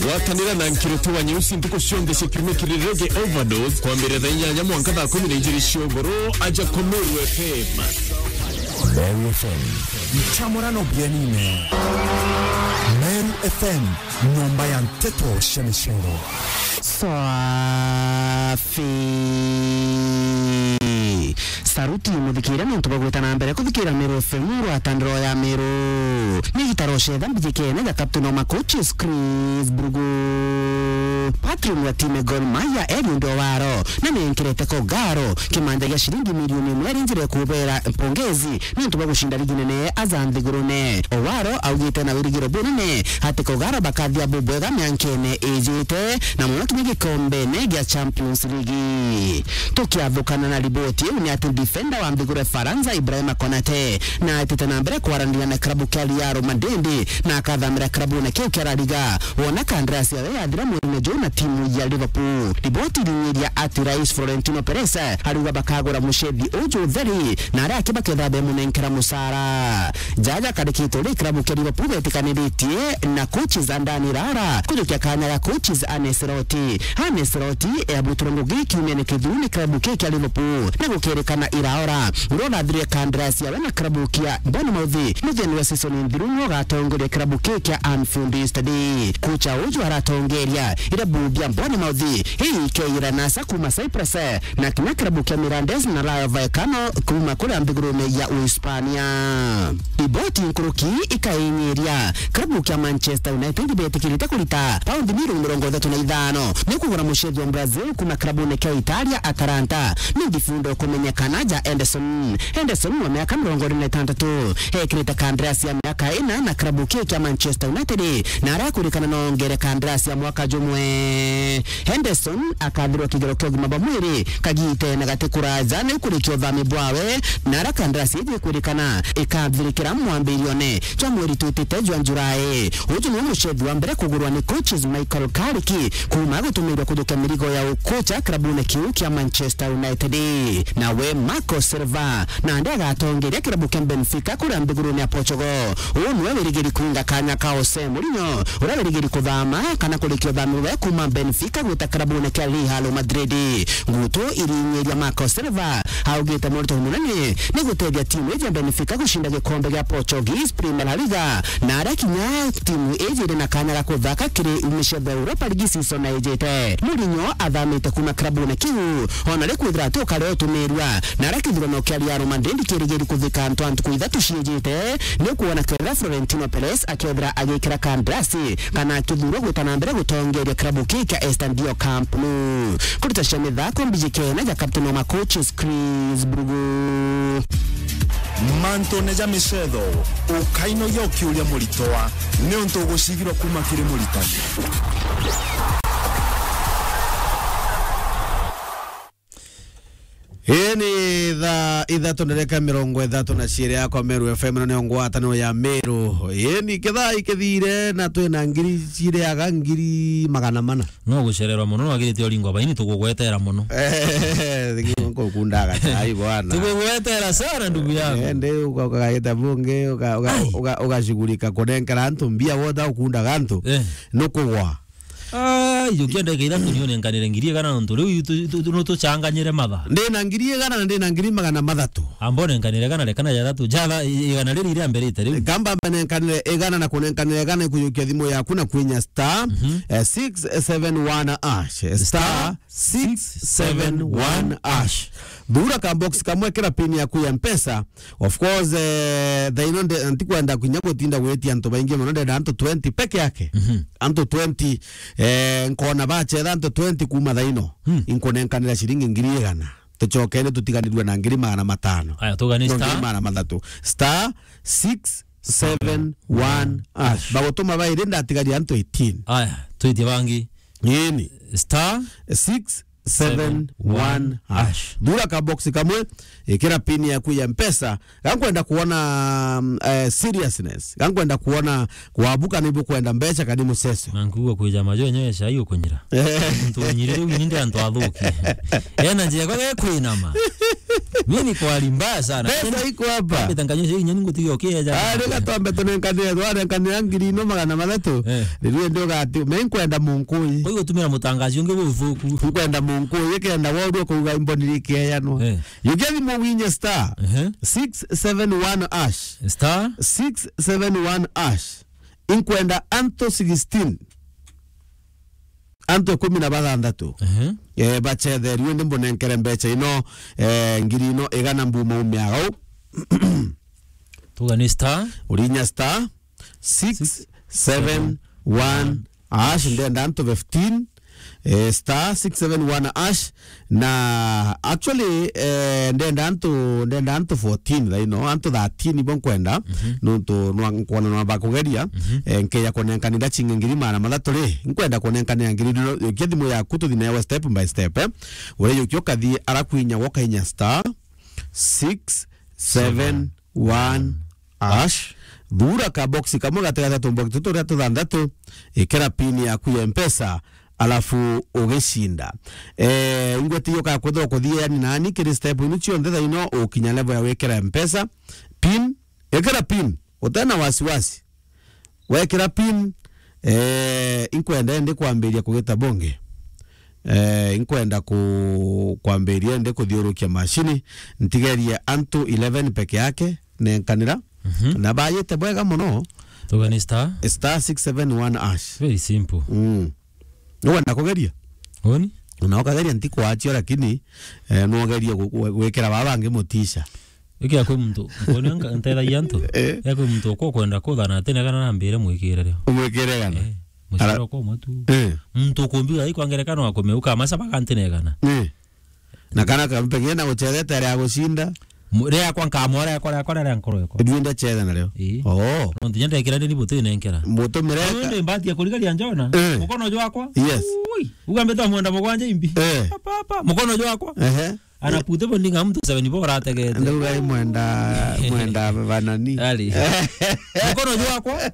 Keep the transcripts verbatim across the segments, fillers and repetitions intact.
Gwatanira na Nkiriti wa Nyeusi ntuku cionthe cia kiumia kiri Reggae Overdose, kwambiriria thaa inyanya mwanka thaa kumi na ijiri cia ugoro, aja ku Meru F M. Meru F M. Nchamurano bienine. Meru F M, nyomba ya nteto cia micero. Safi. Saruti muthikira ni untu bwa gwita na mbere kuthikira Meru F M, ngwataniro ya Meru. Ni gitaro cetha mbijikene ja Captain Oma Coaches Chris Brugu. Patron wa timu Gor Mahia, Eliud Owaro, na nenkirete Kogaro kimanja gia ciringi milioni imwe iri njira ya kubera mpongezi ni untu bwa gucinda ligi nene aja nthigurune. Owaro augite na wirigiro bunene ati Kogaro bakathia bubwega miankene ijite, na muno kinya gikombene gia Champions League. Tukiathukana na riboti iu, ni ati defender wa nthiguru Faransa, Ibrahima Konate, na aitite na mbere kwaraniria na klabu kia Real Madrid, na akathamira klabune kiu kia La Liga, wona kandarasi yawe yathira mweri-ini juu na timu ya Liverpool. Riboti irinyiria ati Rais Florentino Perez ariuga bakagura mucethi uju utheri, na aria aki baketha bemunenkera mucara. Jaja karikitwe ri klabu kia Liverpool betikaniritie na coaches Andani Rara kujukia kanya ga coaches Arne Slot. Arne Slot eabutirwe ngugi kiumia ni kithiru ni klabu kii kia Liverpool, na gukerikana Iraora uria urathirie kandarasi yawe na klabu kia Bournemouth muthia wa season nthiru niwe ugatongoria klabu kii kia Anfield Stadium. Kocha uju aratongeria irabu bia Bournemouth, hii ikeira nasa kuma Cyprus, na kinya klabu kia Mirandés na Rayo Vallecano kuma kuria nthigurune ya Uhispania. Iboti nkuruki ikainyiria, klabu kia Manchester United betikirite kurita paundi milioni mirongo ithatu na ithano ni kugura mucethi wa Brazil kuma klabune kia Italia Atalanta. Ni ndifundo kumenyekana ja Henderson. Henderson wa miaka mirongo iri na itantatu ekirite kandarasi ya miaka ina na klabu kii kia Manchester United, na arakurikana nongere kandarasi ya mwaka jumwe. Henderson akathirwa kigero kia ugima bwa mwiri kagitene gati kuraja ni ukurikia uthami bwawe, na ara kandarasi iji ikwirikana ikathirikira mwambirione jwa mweri twitite jwa Julai. Uju niwe mucethi wa mbere kugurwa ni coaches Michael Carrick kuma gutumirwa kujukia mirigo ya ukocha klabune kiu kia Manchester United. Nawe Marco Silva nandi agatongeria kirabu kia Benfica kuria nthigurune ya Portugal. Uu niwe wirigiri kuinga kanya ka Jose Mourinho, uria wirigiri kuthama kana kurikia uthami bwawe kuma Benfica gwita kirabune kia Real Madrid. Ngutu irinyiria Marco Silva augite murito munene ni gutethia timu iji ya Benfica gucinda gikombe gia Portuguese Premier La Liga, na aria kinya timu iji iri na kanya ga kuthaka kiri miceetho ya Europa League season ijite. Mourinho athamite kuma kirabune kiu, ona ri kwithira ati ukari utumirua, na aria kithurano kia Real Madrid kirigiri kuthika ntu a ntuku ithatu ciijite, ni ukuona kethira Florentino Perez akethira agikira kandarasi kana akithuurwa gwita na mbere gutongeria kirabu kii kia Estadio Camp Nou. Kurita cia mithako mbiji kena ja captain wa ma coaches Chris Brugu. Mantune ja miceetho, ukainogia ukiuria muritwa, niuntu ugucigirwa kuma kiri muritani. Ii ni thaa ithatu ndereka mirongo ithatu na ciiri yakwa Meru F M, ino niyo ngwataniro ya Meru. Ii ni kithaa ikithire na twina ngiri ciriaga ngiri magana mana. No gucererwa muno, no wagirite uringwa baini, tugugwetera muno. Eh, nkukundaga chai bwana. Tugugwetera sana, ndugu yangu. Eh, ndi uka-, ukagita bungi, uka-, uka-, Eh. uka-, ugashughulika kunenkera antu mbia, wota ukundaga antu. Eh. Nukugwa. Ai, ukienda ikaitha tunio nenkanire ngiri igana nontu riu tu, tu, tu, no tuchanganyire matha. Ndina ngiri igana na ndina ngiri magana mathatu. Amba unenkanire igana, rekana ja ithatu. Ja tha-, i-, igana riri iria mbere ite riu. Kamba mbe nenkanire igana na kunenkanire igana ikujukia thimu yaku na kwinya star, Mhm. eh, six seven one hash. Star six seven one hash. Thura ka box kamwe, kira pin yaku ya Mpesa. Of course, eh, thaino nde-, ntikwenda kinya gutinda gwitia antu baingi mono, ndenda antu twenty peke yake. Mhm. Antu twenty, eh, nkona bachetha antu twenty kuma thaino. Hmm. Inkunenkanira ciringi ngiri igana. Tucokene tutiganirwe na ngiri magana matano. Aya, tugane no, star. Ngiri magana mathatu. Star six seven one hash. Bagutuma bairi, ndatigaria antu eighteen. Aya, twitie bangi. Ini. Star six seven one hash. Thura ka box kamwe, ikira pin yaku ya Mpesa. Gankwenda kuona, mm, eh, seriousness. Gankwenda kuona kwabuka ni bukwenda mbeca kani muceso. Na nkuigua kwija majo enyewe cai ukunyira. Eh. Muntu unyirire wini ndi antu athuki. Ena njia kwa ge kwinama. Mimi ni kwa hali mbaya sana. Pesa iko hapa. Mbeta nkanyo cio inya ningutige ukieja. Ah, rega twambe tunenkanire, twarenkanira ngiri ino magana mathatu. Eh. Riu ndi ugati, me nkwenda munkui. Kwa hiyo tumira mutangazi ungi buthuku. Nkwenda munkui, kenda worua kuuga imboni rikeyanwa. Eh. Yukia thimu winye star Ehe. six seven one hash. Star? Six seven one hash. Inkwenda anto sixteen. Antu ikumi na bathanthatu. Ehe. Eh, bacetherue, ndi mbunenkere mbecha ino, eh, ngiri ino igana mbuma umiaga u. Tuga ni star. Urinya star six seven one hash, ndenda antu fifteen, eh, star six seven one hash, na actually, eh, ndenda antu, ndenda antu fourteen thaino, antu thirteen ibo nkwenda, Mhm. nuntu nwa-, nkwona nwa bakugeria, Mhm. eh, nkeya kunenkanira chingi ngiri magana mathatu ri, nkwenda kunenkanira ngiri ino, yukia thimu yaku tuthi nayo step by step, eh. Uria yukia ukathi arakwinya wokainya star six seven one hash, thura ka box kamwe gatigati tumbox tutu turia tuthanthatu, ikira pin yaku ya Mpesa, alafu ugicinda. Eh, ingwete iyo kakwithirwa kuthia yani nani kiri step inu cionthe thaino ukinya level ya wikira Mpesa, pin, ikira pin, utena wasiwasi. Wekira pin, eh, inkwenda indi kwambiria kugita bonge. Eh, inkwenda ku-, kwambiria indi kuthiurukia mashini, ntigerie antu eleven peke yake, nenkanira. Mhm. Na bayite bwega muno. Tuga ni star? Star six seven one hash. Very simple. Mm. Nukwenda kugeria? Uni? Na ukageria ntikwachio, lakini, eh, nugerie gu-, gu-, gwikira baba bangi mutisha. Iki ya kwi muntu, nkoni nka-, ntethagia antu. Eh. Ya kwi muntu uko kwenda kuthana atinegana na mbire mwikire rio. Umwikire gana? Eh, muciro Ara- kwa matu. Eh. Muntu ukumbiga iko ngerekano wa kumeuka, masa bakantinegana. Eh. Na kana ka pengine na uchethete aria agucinda. Mu-, ria kwa nkamwa, ria kwa, ria kwa, ria nkoro yako. Ndwinde chetha nario. Ii. Oh. No ntinya ndekira ndini buti nenkera. Mutumire Uu ka- ndi mbati ya kurigaria njona. Eh. Mukono jwakwa. Yes. Ui. Ugambite mwenda mugwanja imbi. Eh. Papa, papa. Mukono jwakwa. Ehe. Anapute bo ndinga mtu seven bo arategete. Ndauga i mwenda, mwenda banani. Ari. Mukono jwakwa.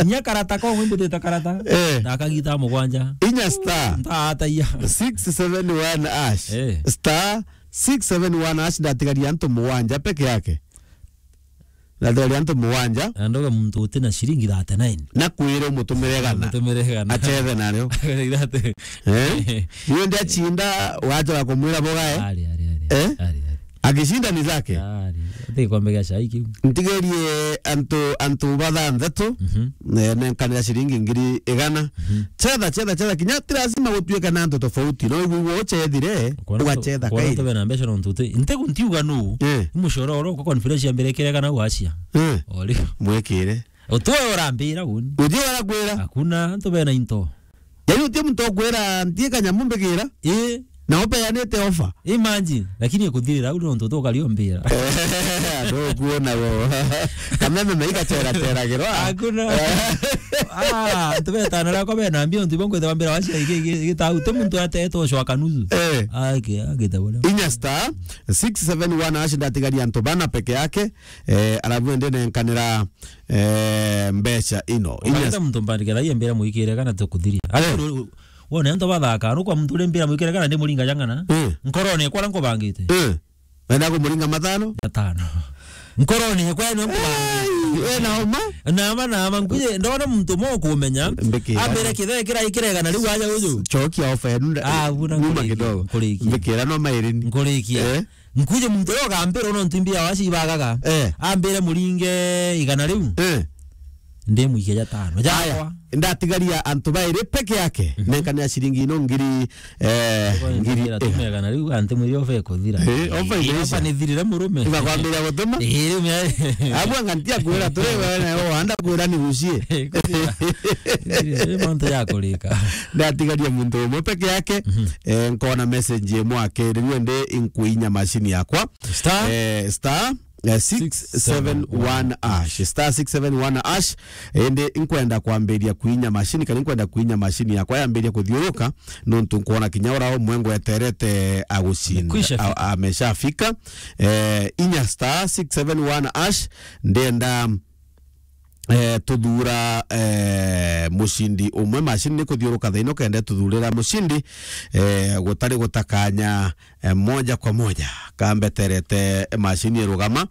Nya karata ko ngwimbutite karata. Eh. Ndakagita mugwanja. Inya star. Ntaataiya. Six seven one hash. Eh. Star six seven one hash, ndatigaria antu mugwanja peke yake. Ndatigaria antu mugwanja. Na ndoga muntu uti na shilingi thirty-nine. Na kwire umutumire gana. Umutumire gana. Achethe nario. Thirty. Eh? Niwe ndiachinda, wachoka kumwira bogae. Ari, ari, ari. Eh? Ari, ari. Akishinda ni zake. Ari. Ati gikombe gia chai kiu. Ntigerie antu, antu bathanthatu, Mhm. eh, nenkanira shilingi ngiri igana. Mhm. Chetha, chetha, chetha. Kinya ti lazima gutuike na antu tofauti. No igwe uchethire, Ukona tu-, ugachetha ukona kairi. Tube na mbeca nontu uti-, ntigu ntiuga nu. Eh. Mucoro oro kwa conference ya mbere kirega na gwacia. Eh. Ori. Mwekire. Utwe urambira uni. Uti urakwira. Hakuna antu bena into. Yaani uti muntu okwira ntie kanyamu mbikira. Eh. Na upeanite offer. Imagine, lakini ikuthirira au nontu tukario mbira. Ndukuona wo. Kameme maika tera tera giro. Hakuna. Ah, antu betana rako bena mbio ntu bongo tawambira wacia iki iki tau te muntu atetwo shwa kanuzu. Eh. Ake, ake tawona. Inya star six seven one hash, ndatigaria antu bana peke yake. Eh, alafu ende nenkanira, eh, mbeca ino. Inya Ukaita muntu mbandike thai mbira mwikire kana tukuthiria. Eh. Ati wone antu bathaka, no kwa muntu uri mbira mwikire kana ndi muringa jangana. Eh. Nkorone kwa nkubangite. Eh. Wenda kumuringa matano? Matano. Nkorone kwa ni nkubangite. Eh, wena homa? Na ama, na ama, nkuje, ndona muntu mo kumenya. Mbikira. Ambire kithe kira ikirega na riu aja uju. Chokia offer yenu nda-, Ah, buna nyuma nkurikia, kidogo. Nkurikia. Mbikira no mairini. Nkurikia. Eh? Nkuje muntu uria ugambira no ntimbia waci ibagaga. Eh. Ambire muringe igana riu. Eh. Ndi muike ja tano. Aya, jakwa. Ndatigaria antu bairi peke yake. Mhm. Nenkanira ciringi ino ngiri, eh, Kwa ngiri ngira igana. Tumegana riu anti mwiri ofe kuthira. Eh, ofe Eh, imeisha. Ofe ni thirire murume. Iba kwambira gutuma? Eh, riu me- Abwa ngantia kwira turi wewe na yo wanda kwira ni gucie. Eh, kuthira. Thirire, mantu ya kurika. Ndatigaria muntu umwe peke yake. Mhm. Eh, nkona message imwe akiri, riu ndi inkuinya machine yakwa. Star? Eh, star, eh, six seven one hash. Star six seven one hash. Indi nkwenda kwambiria kuinya machine, kana nkwenda kuinya machine yakwa yambiria kuthiuruka, nontu nkwona kinya ura umwe ngweterete agucinda. Amekwisha fika. A-, ameshafika. Eh, inya star six seven one hash, ndenda eh, tuthura, eh, mucindi umwe. Macini ni kuthiuruka thaino kenda tuthurira mucindi, eh, gutari gutakanya, eh, moja kwa moja. Kambeterete macini irugama,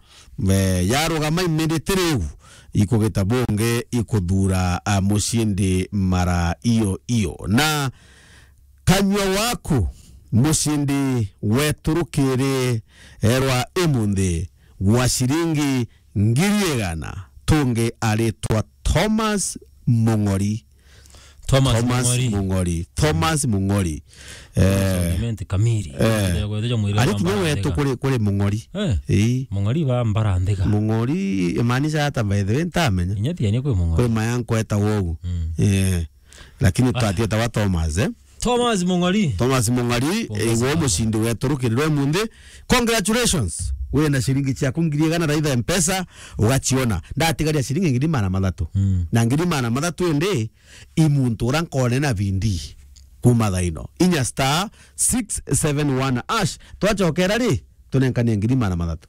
eh, yarugama iminiti riu, ikugita bungi ikuthura, ah, mucindi mara iyo iyo. Na kanyua waku, mucindi wetu rukiri, eh, rwa imunthi gwa ciringi ngiri igana, tungi aritwa Thomas Mung'ori. Thomas Thomas Mung'ori. Mung'ori. Thomas Mung'ori. Eh, Clement Kamiri. Eh. Ndio kweteja mwiri ari wa kinya Mbarandega. Wetu kuri, kuri Mung'ori. Eh. Ii. Mung'ori wa Mbarandega. Mung'ori, imaanisha hata by the way, ntamenya. Inya tiania kwi Mung'ori. Kwi mayanko eta wogu. Mm. Eh. Lakini ah, twatieta wa Thomas, eh? Thomas Mung'ori. Thomas Mung'ori, pongeza eh, wo sana. Mucindi wetu rukiri rwa imunthi. Congratulations. Wina ciringi ciaku ngiri igana raitha Mpesa, ugaciona. Ndatigaria ciringi ngiri magana mathatu. Mm. Na ngiri magana mathatu indi, i muntu ura nkone na bindi kuma thaino. Inya star six seven one hash. Twacokera ri, tunenkanie ngiri magana mathatu.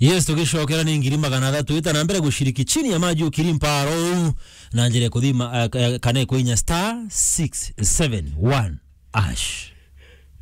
Yes, tugicokera ni ngiri magana athatu. Ita na mbere gushiriki chini ya maji ukiri mparo uu na njira ya kuthima, eh, eh, kana kwinya star six seven one hash.